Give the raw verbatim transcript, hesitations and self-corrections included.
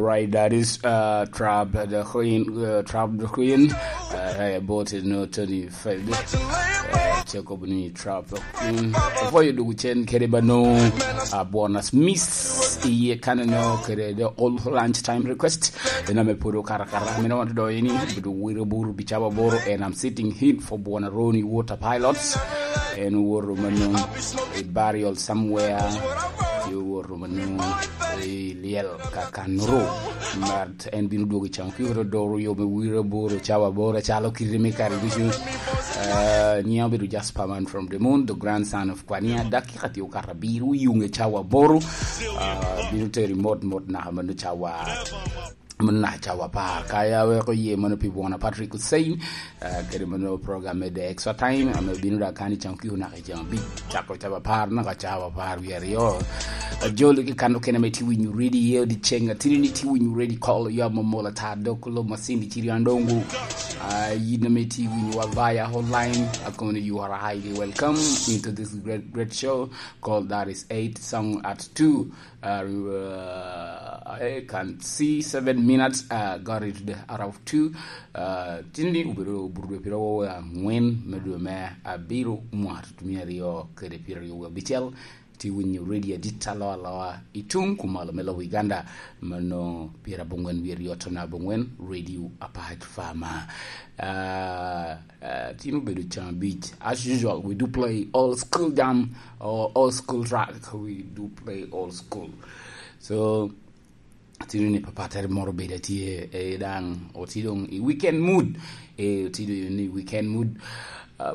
Right, that is uh, Trap the Queen. Uh, Trap the Queen. Uh, hey, about it, no, twenty-five. Uh, check up ni Trap the Queen. Before you do, Chen Keribano, uh, bonus miss. Iye kaneno kere the all lunch time request. Ena me puro karakara. Mina want to do any. But we buru bichaba boro, and I'm sitting in for Buona Roni Water Pilots. And Water Manu, a burial somewhere. You Water Manu, a liel kakanuru. But en bino dwogo i can. Kiko doro yo me wire boro, cawa boro, calo kiri me kare ducu. Uh, Nyia obedo just paman from the moon, the grandson of Kwania. Dakika tio kara biro yunge cawa boro. Uh, bino teri mot mot na manu cawa. Mano na cawa apar. Ka ya weko ye mano pi Bwana Patrick Hussein, uh, kede mano program me The Extra Time, ame bino da kani can kiko naka can bi chako cawa apar, naka cawa apar wi aryo. Ajolo ki kano kene me ti winyo ready ye di ceng, atini ni ti winyo ready call ya momola ta dok lo masindi chiri andongo. Uh, yino me ti winyo wa via online, akoni you are highly welcome into this great, great show called That Is Eight Song at Two. Uh, uh, I can see seven minutes uh, got it to the hour of two. Uh, tindi ubiro burdo piro wo angwen me dwe me abiro mwar tumi aryo kede piro aryo abicel. Ti winyo radio dit aloa aloa itung kumalo me lobo Uganda. Mano pira bongwen wi aryo tona bongwen radio apart farmer. Uh, uh, tinu bedo chama beach. As usual, we do play old school jam or old school track. We do play old school. So, tinu ni papa tere moro bedo tye e dang oti dong i weekend mood. E oti dong i weekend mood.